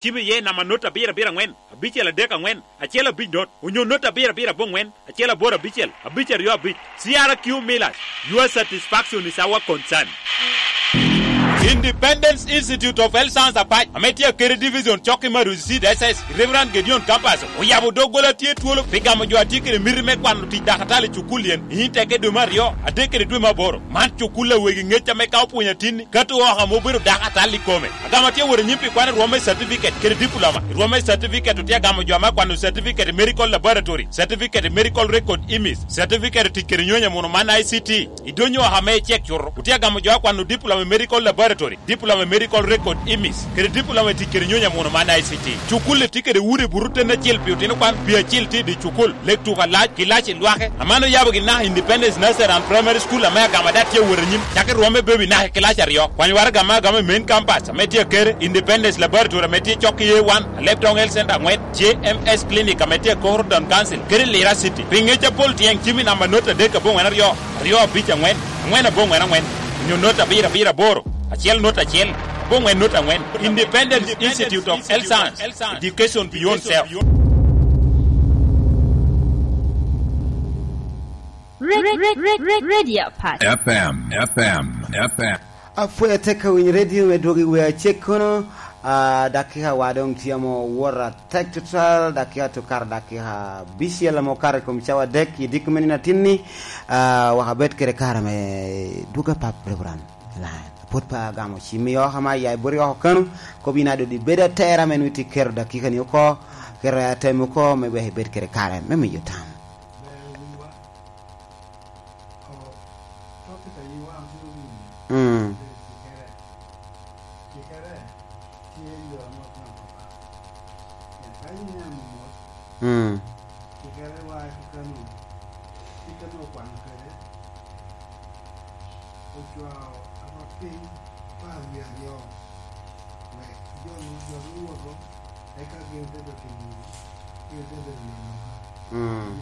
Cim iye namba not abiro abiro angwen, abicel adek angwen, acel abic not, onyo not abiro abiro abongwen, acel aboro abicel, abic aryo abic. CRQ Millers, Your satisfaction is our concern. Independence Institute of Health Science Apac ame tye Akeri Division cok ki Maruzi Seed SS i Reverend Gedion Campus oyabo doggola tye twolo pi gamo jo atye kede miti me kwano tic dakatal i cukul yen i teke dwe me aryo, adek kede dwe me aboro. Man cukul lawegi ngec ame ka opwonyo atinni kato woko ame obedo dakatal ikome. Agamo tye wot anyim pi kwan i rwom me catifiket kede dipuloma. I rwom me catifiket otye agamo jo ma kwano catifiket i Medical Laboratory, catifiket i Medical Record IMIS, catifiket i tic kede nyonyo muno man ICT. I donyo woko ame icek cuto, otye agamo jo akwano dipuloma i Medical Laboratory, dipuloma i Medical Record IMIS, kede dipuloma i tic kede nyonyo muno man ICT. Cukul-li tye kede udi butu tene acel pi otino kwan, pii acel tye i dye cukul, lek tuko alac, ki lac i lwake. Amano yabo gi naka Independence Nursery and Primary School ame agama dat tye awot anyim cake rwomme baby naka i kilac aryo. Kwanyo waraga me agama i Main Campus ame tye Akere, Independence Laboratory ame tye cok ki A1, Alep Town Health Centre angwen, JMS Clinic ame tye Akoro Town Council kede Lira City. Pi ngec apol tyeng cim i namba not adek abongwen aryo, aryo abic angwen, angwen abongwen angwen, onyo not abiro abiro aboro, acel not acel, abongwen not angwen. Independence Institute of Health Science, Education Beyond Self. Radio Apac. FM, FM, FM. Apwoyo tek ka winyo redio me dwogo i wer acek kono dakika wa dong tye mo wot atek tutwal dakika to kare dakika bicel ame okato i kom cawa adek i diko me nino atinni wek abed kede kare me dwogo apap Reverend Lion pwod pe agamo cimmi oko ma aya boti oko kanu kob in adodi ibedo atera me nongo itye keto dakika ni oko keto airtime oko me wek ibed kede kare me miyo tam. Mm. Mm. Mm.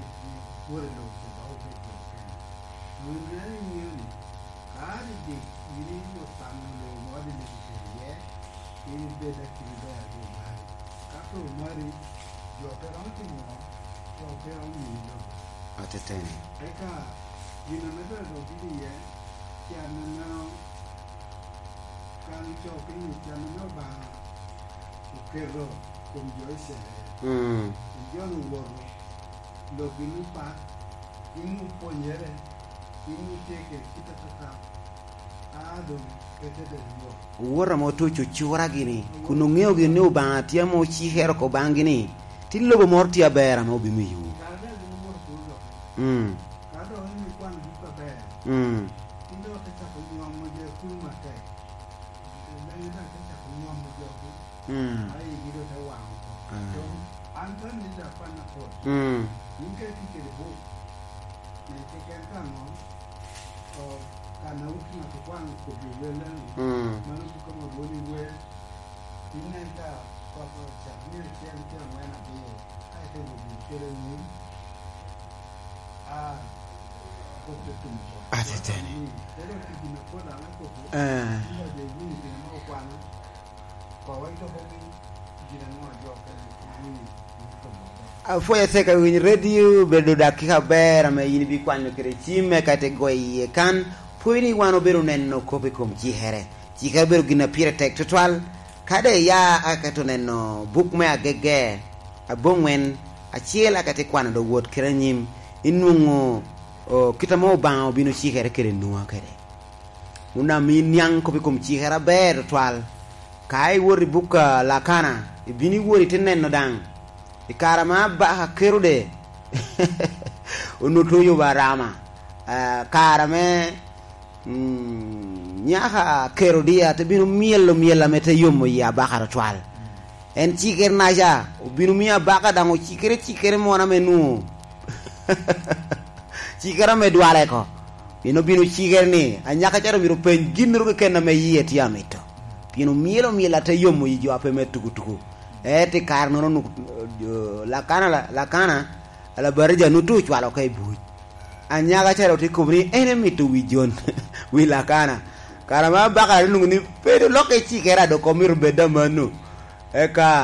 Ateteni. Mm. Owota ma otuco cura gini, kun ongeyo gin ni Obanga tye ma ocikere oko banggi ni, Ti lobo moro tye aber ame obimiyowu. Mm. Mm. Mm. Mm. Mm. Ateteni. Eh. Apwoyo tek awiny radio bedo dakika aber ame in ibikwanyo kede cimme ka ite goyo iye kan pwoyo ni wan obedo neno kop i kom cikere. Cikere obedo gin ma pire tek tutwal. Kade iya aka to neno buk me agege abongwen acel aka te kwano do wot kede anyim inwongo kita ma Obanga obino cikere kede Nua kede. Onam in niang kop i kom cikere aber tutwal. Ka iwot i buk Lakana, ibino iwot ite neno dang i kare ma abaka Kerode onongo oyubo arama, kare me nyaka Kerodia te bino myelo myela me te yomo i abaka tutwal. En cikere naca obino miyo abaka dang ocikere cikere mona me nwo cikere me dwale ko. Pien obino cikere ni anyaka calo myero openy gin keken na me iye tye amito. Pien omyelo myel ate yomo yi jo ape me tukutuku. Ento i kare nono nuk Lakana Lakana Labatija nutu ocwalo ka i buc. Anyaka calo tye kobo ni en emito wi Jon wi Lakana. Kare ma abaka onongo ni pe dong lokke cikere ado ko myero obed amano. Eka.